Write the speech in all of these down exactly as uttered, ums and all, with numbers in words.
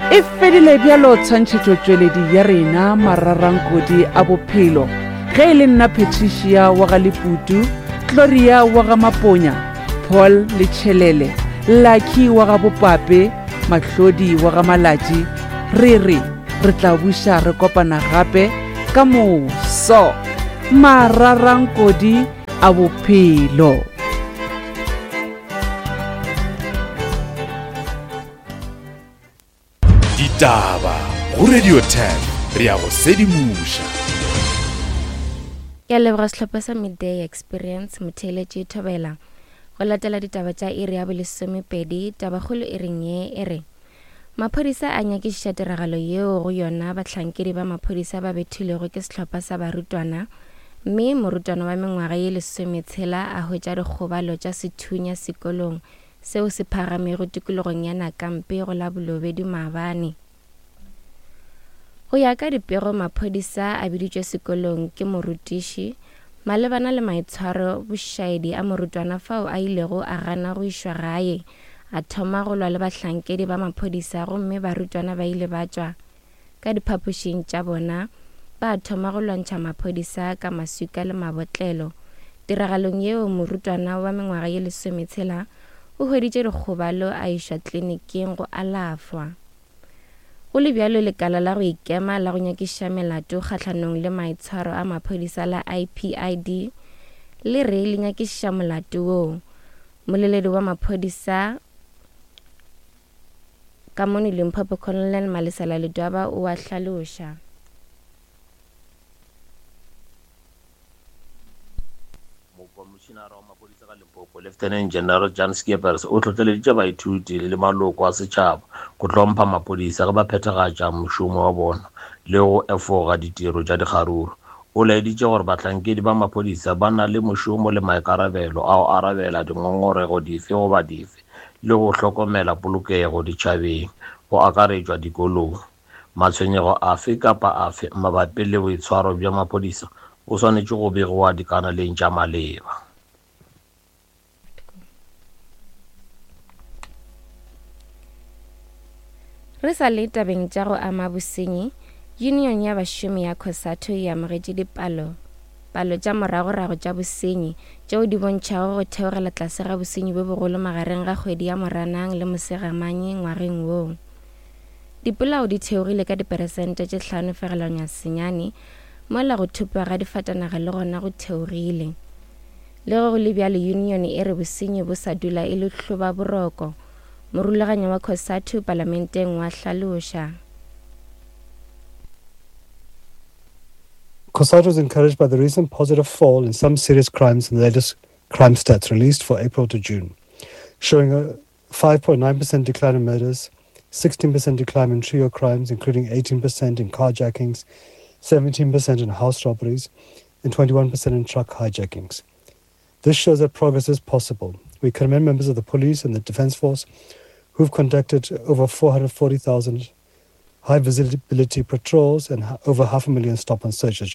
E fedile bjalo tshwantšhetšotšweledi ya rena mararankodi a bophelo. Ge e le nna Patricia wa ga Leputu, Gloria wa ga Maponya, Paul Letšhelele, Lucky wa ga Bopape, Mahlodi wa ga Malatši, re re re tla buša re kopana gape ka moso. Mararankodi a bophelo. Ditaba go Radio ten re ya go sedimoša. Ke a leboga sehlopha sa Midday Experience motheeletši Thobela. Go latela ditaba tša iri ya bolesomepedi, tabakgolo e reng ye e re maphodisa a nyakišiša tiragalo yeo go yona bahlankedi ba maphodisa ba bethilwego ke sehlopha sa barutwana, mme morutwana wa mengwaga ye lesometshela a hwetša dikgobalo tša sethunya sekolong seo se phagamego tikologong ya Nakampe go la Bolobedu maabane. Go ya ka dipego, maphodisa a biditšwe sekolong ke morutiši malebana le maitshwaro bošaedi a morutwana fao a ilego a gana go išwa gae, a thoma go lwa le bahlankedi ba maphodisa, gomme barutwana ba ile ba tšwa ka diphapošing tša bona ba thoma go lwantšha maphodisa ka maswika le mabotlelo. Tiragalong yeo, morutwana wa mengwaga ye lesometshela o hweditše dikgobalo a išwa tleliniking go alafwa. Go le bjalo, lekala la go ikema la go nyakišiša melato kgahlanong le maitshwaro a maphodisa la I P I D le re le nyakišiša molato woo. Moleledi wa maphodisa ka mono Limpopo, Colonel Malesela Ledwaba, o a hlaloša. Mokomišenara wa maphodisa ka Limpopo, Lieutenant General Jan Scheepers, o hlohleleditše baithuti le maloko a setšhaba go hlompha maphodisa ge ba phethagatša mošomo wa bona le go efoga ditiro tša dikgaruru. O laeditše gore bahlankedi ba maphodisa ba na le mošomo le maikarabelo a go arabela dingongorego dife goba dife le go hlokomela polokego ditšhabeng, go akaretšwa dikolong. Matshwenyego afe kapa afe mabapi le boitshwaro bja maphodisa o swanetše go begiwa dikanaleng tša maleba. Re sa le tabeng tša go ama bosenyi, Union ya bašomi ya COSATU e amogetše dipalo palo tša moragorago tša bosenyi tšeo di bontšhago go theogela tlase ga bosenyi bjo bogolo magareng ga kgwedi ya Moranang le Mosegamanye ngwageng woo. Dipolao di theogile ka diperesente tše hlano fegelwana senyane, mola go thopiwa ga difatanaga le gona go theogile. Le ge go le bjalo, union e re bosenyi bo sa dula e le hlobaboroko. Morulaganyi wa COSATU palamenteng wa hlaloša. COSATU is encouraged by the recent positive fall in some serious crimes in the latest crime stats released for April to June, showing a five point nine percent decline in murders, sixteen percent decline in trio crimes, including eighteen percent in carjackings, seventeen percent in house robberies, and twenty-one percent in truck hijackings. This shows that progress is possible. We commend members of the police and the Defence Force who've conducted over four hundred forty thousand high visibility patrols and ha-, over half a million stop and searches.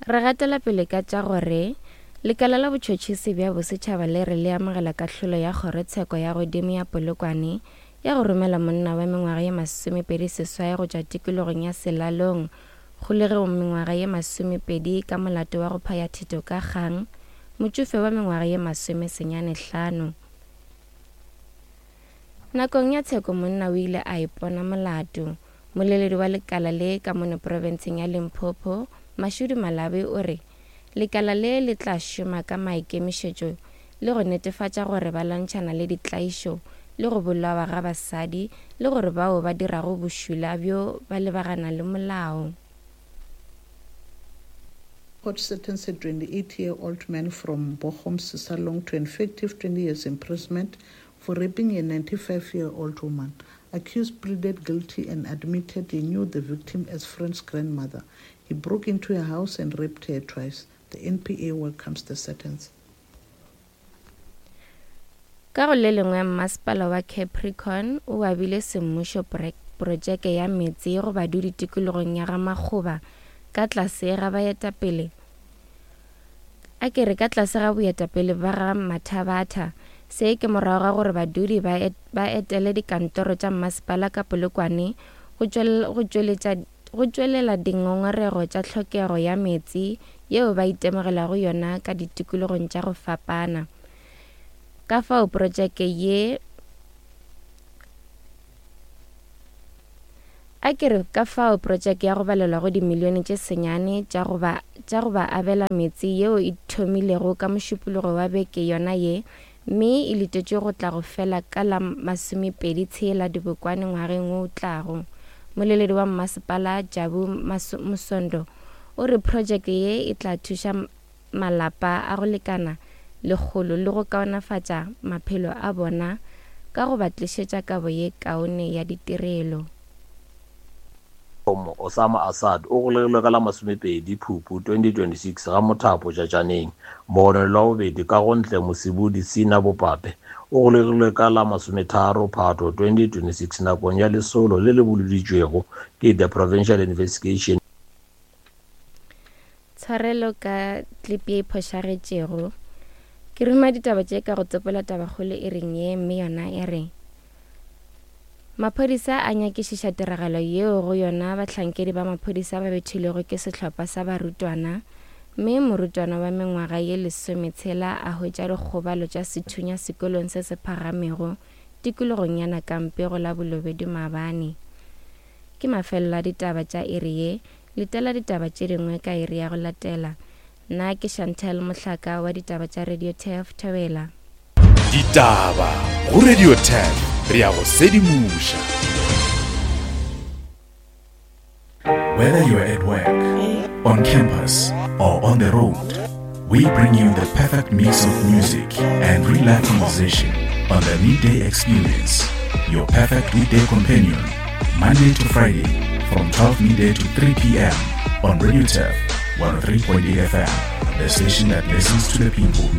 Re gatela pele ka tša gore lekala la botšhotšhisi bja bosetšhaba le re le amogela kahlolo ya kgorotsheko ya godimo ya Polokwane ya go romela monna wa mengwaga ye masomepedi seswai go tšwa tikologong ya Selalong kgolegong mengwaga ye masomepedi ka molato wa go phaya thito ka kgang, motšofe wa mengwaga ye masomesenyane hlano. Nakong ya tsheko monna o ile a ipona molato. Moleledi wa lekala le ka mono profenseng ya Limpopo, Mashudu Malabi, o re lekala le le tla šoma ka maikemišetšo le go netefatša gore ba lwantšhana le ditlaišo le go bolawa ga basadi le gore bao ba dirago bošula bjo ba lebagana le molao. Court sentenced a twenty-eight-year-old man from Bochum, Sisalong, to an effective twenty years imprisonment for raping a ninety-five-year-old woman. Accused pleaded guilty and admitted he knew the victim as friend's grandmother. He broke into her house and raped her twice. The N P A welcomes the sentence. Ka go le lengwe, masepala wa Capricorn o abile semmušo projeke ya meetse go badudi tikologong ya Gamakgoba ka tlase ga baetapele. A ke re ka tlase ga boetapele ba ga Mathabatha. Se ke morago ga gore badudi ba et, ba etele dikantoro tša mmasepala ka Polokwane go tšweletša go tšwelela dingongorego tša tlhokego ya meetse yeo ba itemogelago yona ka ditikologong tša go fapana. Ka fao projeke ye a ke re ka fao projeke ya go balelwa go dimilione tše senyane tša go ba tša go ba abela meetse yeo e thomilego ka mošupologo wa beke yona ye mme e letetšwe go tla go fela ka la masomepedi tshela Dibokwane ngwageng wo o tlago. Moleledi wa mmasepala Jabu Mosondo o re projeke ye e tla thuša malapa a go lekana lekgolo le go kaonafatša maphelo a bona ka go ba tlišetša kabo ye kaone ya ditirelo. Osama Assad o golegilwe ka la masomepedi Phupu twenty twenty-six ga Mothapo Tšatšaneng. Mogononelwa wa bobedi ka go ntle Mosibudi Sina Bopape o golegilwe ka la masometharo Phato twenty twenty-six nakong ya lesolo le le boloditšwego ke the Provincial Investigation. Tshwarelo ka klipi ye e phošagetšego. Ke ruma ditaba tše ka go tsopola tabakgolo e reng ye mme yona e re maphodisa a nyakišiša tiragalo yeo go yona bahlankedi ba maphodisa ba bethilwego ke sehlopha sa barutwana mme morutwana wa mengwaga ye lesometshela a hwetša dikgobalo tša sethunya sekolong se se phagamego tikologong ya Nakampe go la Bolobedu maabane. Ke mafelelo a ditaba tša iri ye, letela ditaba tše dingwe ka iri ya go latela. Nna ke Chantel Mohlaka wa ditaba tša Radio Turf Thobela. Ditaba go Radio Turf, re ya go sedimoša. Whether you're at work, on campus, or on the road, we bring you the perfect mix of music and real life conversation on the Midday Experience, your perfect weekday companion, Monday to Friday from twelve midday to three p.m. on Radio Turf one oh three point eight F M, the station that listens to the people.